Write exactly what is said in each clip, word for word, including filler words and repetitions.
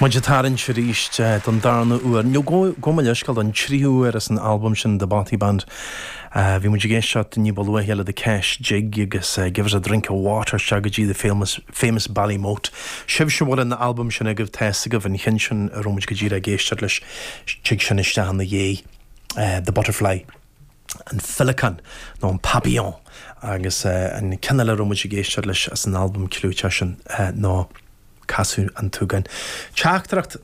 Muid ag tarraingt arís don darna huair, nó gabh mo leithscéal, don tríú huair as an albam sin The Bothy Band. Bhí muid ag éisteacht ní ba luaithe le The Kesh Jig agus Give Us a Drink of Water isteach go dtí The Famous, famous Ballymote. Sibhse a bhfuil an albam sin agaibh tá fhios agaibh an cheann sin a raibh muid go díreach ag éisteacht leis, tig sin isteach ina dhiaidh, The Butterfly. an Féileacán nó an Papillon agus an ceann eile a raibh muid ag éisteacht leis as an albam clúiteach sin ná Casadh an tSúgáin. Teachtaireacht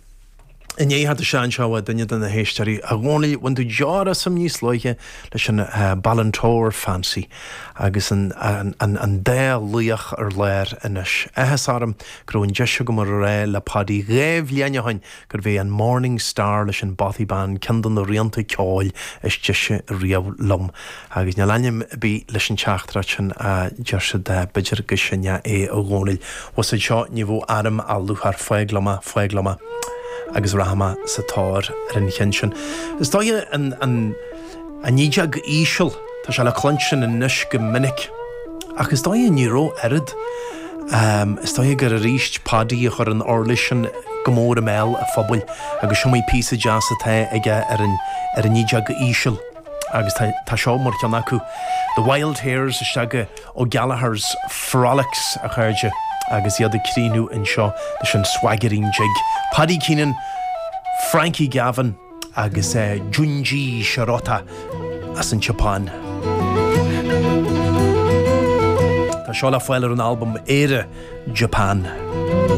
i ndiaidh theacht isteach anseo ó duine de na héisteoirí, A Dhónaill, bhain tú deor asam níos luaithe leis an Balintore Fancy agus an an dá laoch ar lár anois. Áthas orm go raibh an deis agam a rá le Paddy dhá bhliain ó shin gurbh é an Morning Star leis an Bothy Band ceann de na rianta ceoil is deise riamh liom. Agus níl ainm ar bith leis an teachtaireacht sin a deir siad, b'fhéidir go sin é a Dhónaill. Bhus anseo ní bheadh arm á lúcháir, fág liom é, fág liom é. Agus rachaidh mé sa tóir ar an cheann sin. Is dóigh an, an, an ídeog íseal, tá sé le cluinstin anois go minic. Ach is dóigh ní raibh oiread. Is dóigh gur arís Paddy a chuir an uirlis sin go mór i mbéal an phobail agus is iomaí píosa deas atá aige ar an ar an fhídeog íseal agus tá tá seo mar cheann acu. The Wild Hares isteach go O'Gallagher's Frolics, a chairde, agus iad ag críochnú anseo leis an Swaggering Jig. Paddy Keenan, Frankie Gavin agus Junji Shirota as an tSeapáin. Tá seo le fáil ar an albam Éire Japan.